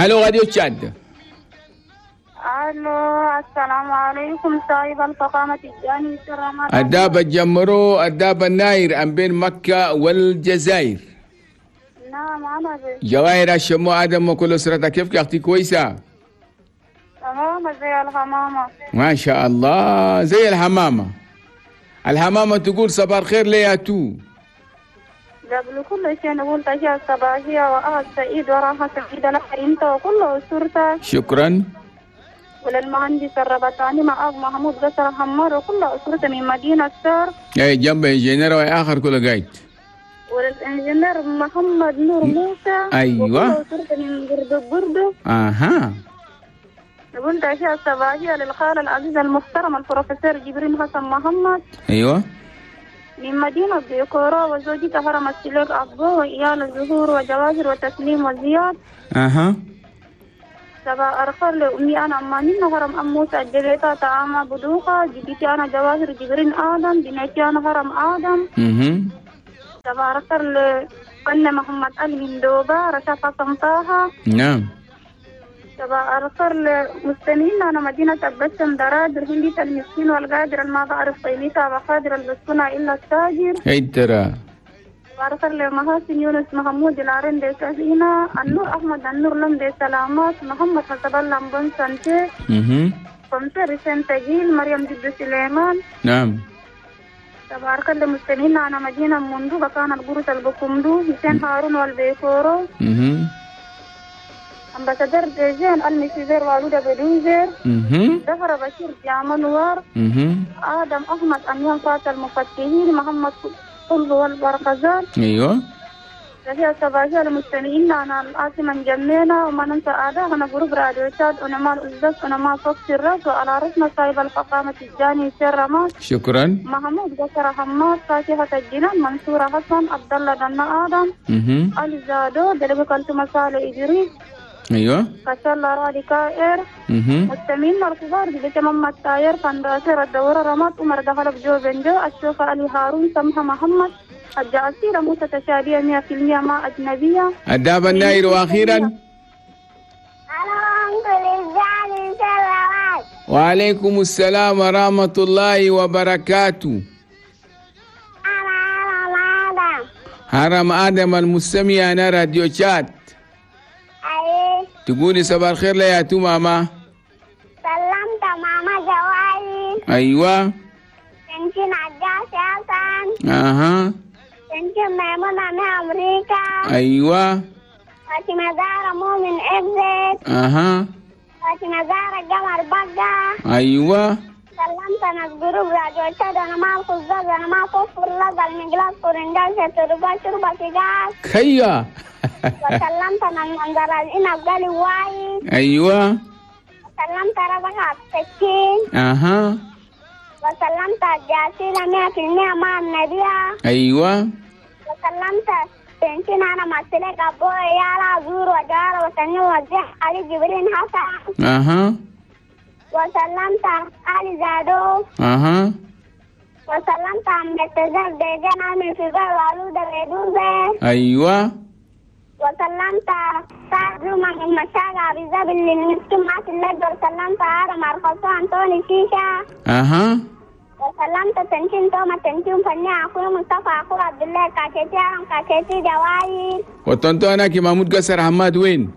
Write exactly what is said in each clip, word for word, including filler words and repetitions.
الو راديو تشاد. الو السلام عليكم صاحب الفخامة الجاني السلام. الدابة الجمرو الدابة الناير أم بين مكة والجزائر. نعم أنا بي. جواهر الشمو آدم وكل أسرتك، كيفك يا أختي؟ كويسة؟ تمام زي الحمامة. ما شاء الله زي الحمامة. الحمامة تقول صباح الخير ليا تو. قبل كل شيء نقول تحية صباحية وأهل سعيد وراحة سعيدة لك أنت وكل أسرتك. شكرا. وللمهندس الربطاني مع محمود قصر حمار وكل أسرته من مدينة سار. أي جنب إنجينير وآخر كل قايد. ولل ingénieur محمد نور موسى. أيوة. وكل أسرته من بردو بردو. أها. نقول تحية صباحية للخال العزيز المحترم البروفيسور جبرين حسن محمد. أيوة. من مدينة بيكورا وزوجته هرم السلوك أبو وإيال الزهور وجواهر وتسليم وزياد. أها. سبا أرخر لأمي أنا أمانين هرم أم موسى الجبيتة طعام بدوخة جدتي أنا جواهر جبرين آدم بنتي أنا هرم آدم. أها. سبا أرخر لفن محمد علي من دوبا رشا حسن طه. نعم. سبا أرخر لمستمعين أنا مدينة البسم درادر هندية المسكين والقادر ما بعرف قيمتها وقادر البسكنة إلا التاجر. هاي ترى. أرخر لمحاسن يونس محمود العرين دي سهينة النور أحمد النور لم دي سلامات محمد حسب الله بن سانتي. اها. كمسير سنتجيل مريم جد سليمان. نعم. تبارك للمستمعين أنا مدينة مندو بكان القرص البكمدو حسين هارون والبيكورو. اها. ambassadeur ديجين المسيزير والودة بدوزير. اها. دفر بشير جامنوار. اها. آدم أحمد أميان فات المفتحين محمد قلب والبرقزان. ايوه. تحية صباحية للمستمعين أنا العاصمة جمينة وما ننسى أعداء أنا جروب راديو تشاد ونما الأزداد ونما فوق الراس وعلى رأسنا صاحب الفخامة الجاني سير رماس. شكرا. محمود بكر حماد فاتحة الجنان منصورة حسن عبد الله دنا آدم. اها. علي زادو دلبك أنتم صالح إدريس. ايوه. كسل رادي كائر. اها. مستمعين الكبار بتمام التاير فنداسير الدورة رمات عمر دخل بجو بنجو الشوفة علي هارون سمحة محمد الجعسيرة موسى تشابية مئة في المئة مع أجنبية. الدابة الناير. وأخيرا وعليكم السلام ورحمة الله وبركاته. هرم آدم المستمع أنا راديو شات. تقولي صباح الخير ليا تو ماما. سلمت ماما جوالي. أيوة. تنشين عجاز حسن. أها. تنشين ميمونة من أمريكا. أيوة. فاطمة زهرة مؤمن إبزت. أها. فاطمة زهرة قمر بقة. أيوة. سلمت أنا جروب راديو تشاد أنا مع الخزاز أنا مع كفر لزا المجلاس كورنجال شتربا شربا سيجاس. كيا. وسلمت أنا المنظر الإنب قالي وايد. أيوة. وسلمت ربك السكين. أها. وسلمت الجاسيلة مئة في المئة مع النبية. أيوة. وسلمت تنشين أنا مسلك أبوي يالا زور وجارة وسنين وزيح علي جبرين حسن. أها. وسلمت علي زادو. أها. وسلمت عم بتزال ديجان عامل في بال وعلودة بيدوزة. أيوة. وسلمت سعد زوما من مشاغ عبيزاب اللي المسكين معاك اللجة. وسلمت عارم عرخصو أنطوني شيشة. أها. وسلمت تنشين توما تنشين فني أخوي مصطفى أخوي عبد الله كاكيتي عرم كاكيتي جواي. وطنطو أنا كي محمود قصر حماد وين؟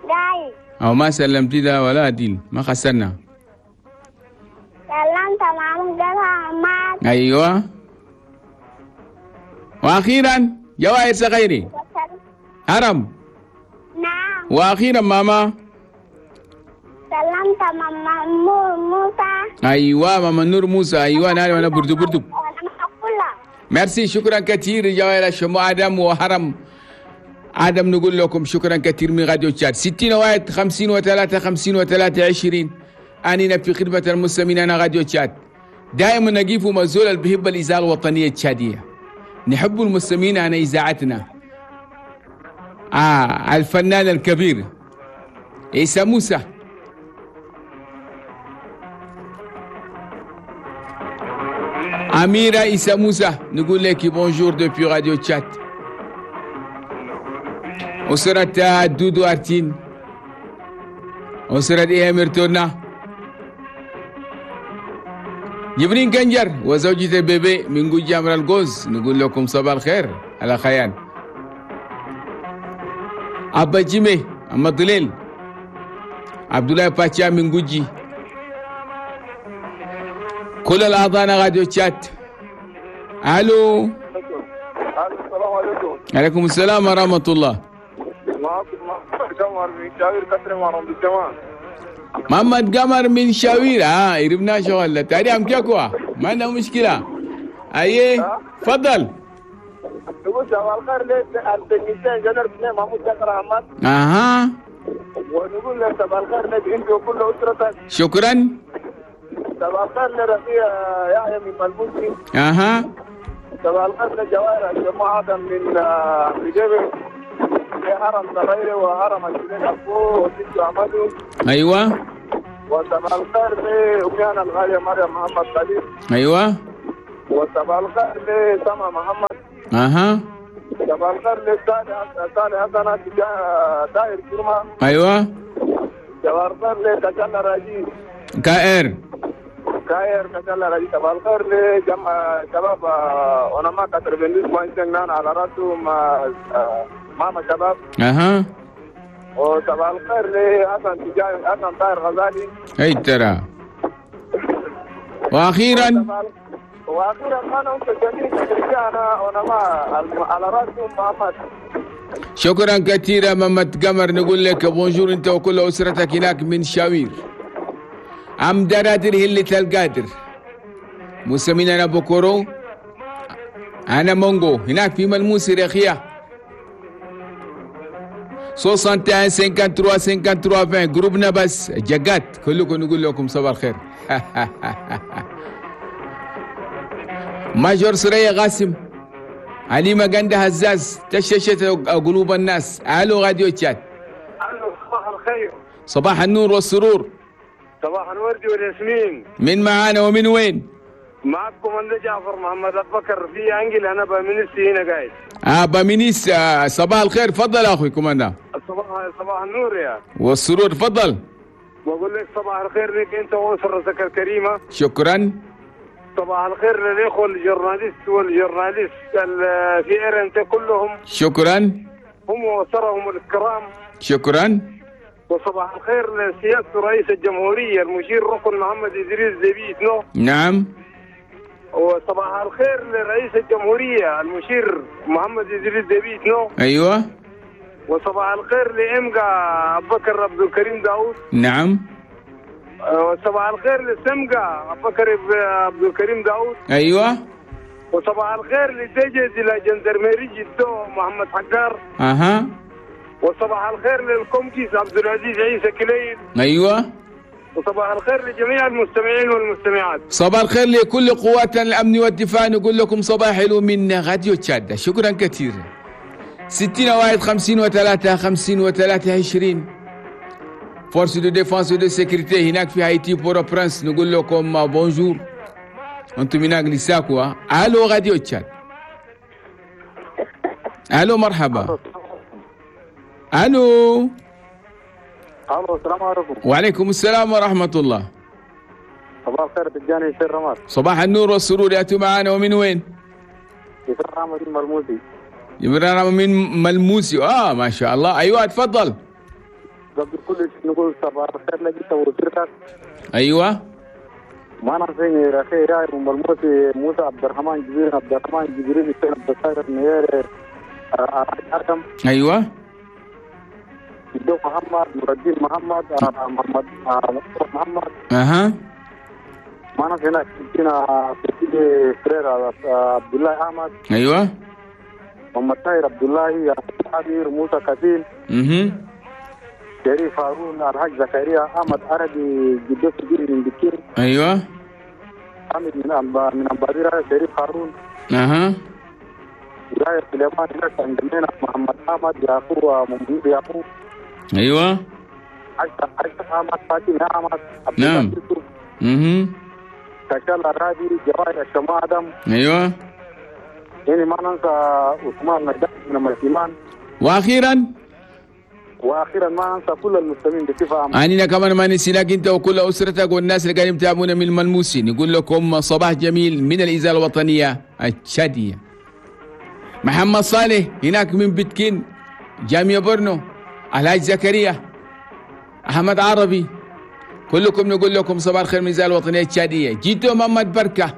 جاي. أو ما سلمتي ده ولا ديل ما خسرنا. سلمت محمود قصر حماد. أيوة. وأخيرا جواهر صغيري. هرم. نعم. واخيرا ماما. سلمت ماما نور موسى. ايوه ماما نور موسى. ايوه انا انا بردو بردو. ميرسي شكرا كثير جواهر شمو ادم وهرم ادم. نقول لكم شكرا كثير من راديو تشاد ستين واحد خمسين وثلاثة خمسين وثلاثة عشرين. اننا في خدمة المستمعين. انا راديو تشاد دائما نقيف مزول بهب الإذاعة الوطنية التشادية. نحب المستمعين عن إذاعتنا. آه الفنان الكبير عيسى موسى. أميرة عيسى موسى نقول لك bonjour depuis راديو تشاد. أسرة دودو أرتين، أسرة إيه ميرتونا، جبرين كنجر وزوجة بيبي من جوجي أمر الجوز، نقول لكم صباح الخير على خيان. أبا جيمي أما دليل، عبد الله باتشا من جوجي، كل الأعضاء راديو تشات. ألو. السلام عليكم. عليكم السلام ورحمة الله. معكم محمد قمر من شاوير كسر مع الجماعة. محمد قمر من شاوير، اه يربنا شغل تاري عم كيكوا، ما عندنا مشكلة. ايه تفضل. نقول صباح الخير للتكنيسيان جنرال بن محمود جعفر احمد. اها. ونقول له صباح الخير لك انت وكل اسرتك. شكرا. صباح الخير لرفيع يحيى من ملموسي. اها. صباح الخير لجواهر الجماعة من بجبل هرم صغير وهرم الشريك أبوه وست أحمده. أيوة. وصباح الخير لأميانا الغالية مريم محمد خليل. أيوة. وصباح الخير لسما محمد. أها. صباح الخير لصالح صالح حسن داير كرمة. أيوة. صباح الخير لكشلا راجي. كائر. كائر كشلا راجي. صباح الخير لجمع شباب ونما كتر بندس بوينتين على راسهم ماما شباب. اها. وصباح الخير لحسن تجاي حسن طاهر غزالي. اي ترى. واخيرا واخيرا انا جميع رجعنا ونما على راسهم محمد. شكرا كثيرا محمد قمر، نقول لك بونجور انت وكل اسرتك هناك من شاوير. عم درادر هلة القادر، مسمينا بوكورو، انا مونغو هناك في ملموس رخيه. واحد وستين ثلاثة وخمسين ثلاثة وعشرين جروبنا بس جاكات كلكم نقول لكم صباح الخير. ماجور سرية قاسم، علي مجندة هزاز، تششت قلوب الناس. الو راديو تشات. الو صباح الخير. صباح النور والسرور. صباح الورد والياسمين. من معانا ومن وين؟ معكم انا جعفر محمد ابو بكر في انجل، انا بامينيس هنا قاعد. اه بامينيس، آه صباح الخير، تفضل اخوي كوماندا. صباح صباح النور يا والسرور، تفضل. بقول لك صباح الخير لك انت واسرتك الكريمه. شكرا. صباح الخير للاخوه ال journalistes وال journalistes في ار كلهم. شكرا. هم واسرهم الكرام. شكرا. وصباح الخير لسيادة رئيس الجمهورية المشير ركن محمد إدريس ديبي إتنو. نعم. وصباح الخير لرئيس الجمهورية المشير محمد إدريس ديبي إتنو. أيوة. وصباح الخير لإمجا أبو بكر عبد الكريم داوود. نعم. وصباح الخير لسمجا أبو بكر عبد الكريم داوود. أيوة. وصباح الخير لدجاج la gendarmerie جدو محمد حجار. أها. وصباح الخير للكومكيس عبد العزيز عيسى كليل. أيوة. وصباح الخير لجميع المستمعين والمستمعات. صباح الخير لكل قوات الأمن والدفاع، نقول لكم صباح حلو من راديو تشاد. شكرا كثير. ستين واحد خمسين وثلاثة خمسين وثلاثة عشرين. forces de défense de sécurité هناك في هايتي بورو برنس، نقول لكم bonjour. انتم هناك لساكوا. الو راديو تشاد. الو مرحبا. الو. الو السلام عليكم. وعليكم السلام ورحمة الله. صباح الخير تجاني يسير رماد. صباح النور والسرور، ياتوا معنا ومن وين؟ يسير رماد من ملموسي. يسير رماد من ملموسي، اه ما شاء الله. ايوه تفضل. قبل كل شيء نقول صباح الخير لك انت واسرتك. ايوه. ما نسيني رخي راي من ملموسي موسى عبد الرحمن جبريل عبد الرحمن جبريل حسين عبد الساتر نير ارقم. ايوه. جدو محمد نور الدين محمد محمد محمد. اها. ما نسينا كنا في فرير عبد الله احمد. ايوه. محمد طاهر عبد الله عبير موسى كثير. اها. شريف هارون الحاج زكريا احمد عربي جدو سجين من بكير. ايوه. حامد من أمب... من أمباديرة شريف هارون. اها. ولاية سليمان هناك عندنا محمد احمد يعقوب ومنير يعقوب. ايوه. عشرة عشرة احمد فاطمه احمد. نعم. اها. كشال الرادي جواهر الشماء ادم. ايوه. يعني ما ننسى عثمان نجاح من الإيمان. واخيرا واخيرا ما انسى كل المستمعين بصفه عامه. أنينا كمان ما نسيناك أنت وكل أسرتك والناس اللي قاعدين يتابعونا من الملموسين. نقول لكم صباح جميل من الإذاعة الوطنية التشادية. محمد صالح هناك من بتكين، جامعة برنو، الحاج زكريا، أحمد عربي، كلكم نقول لكم صباح الخير من الإذاعة الوطنية التشادية. جيتو محمد بركة،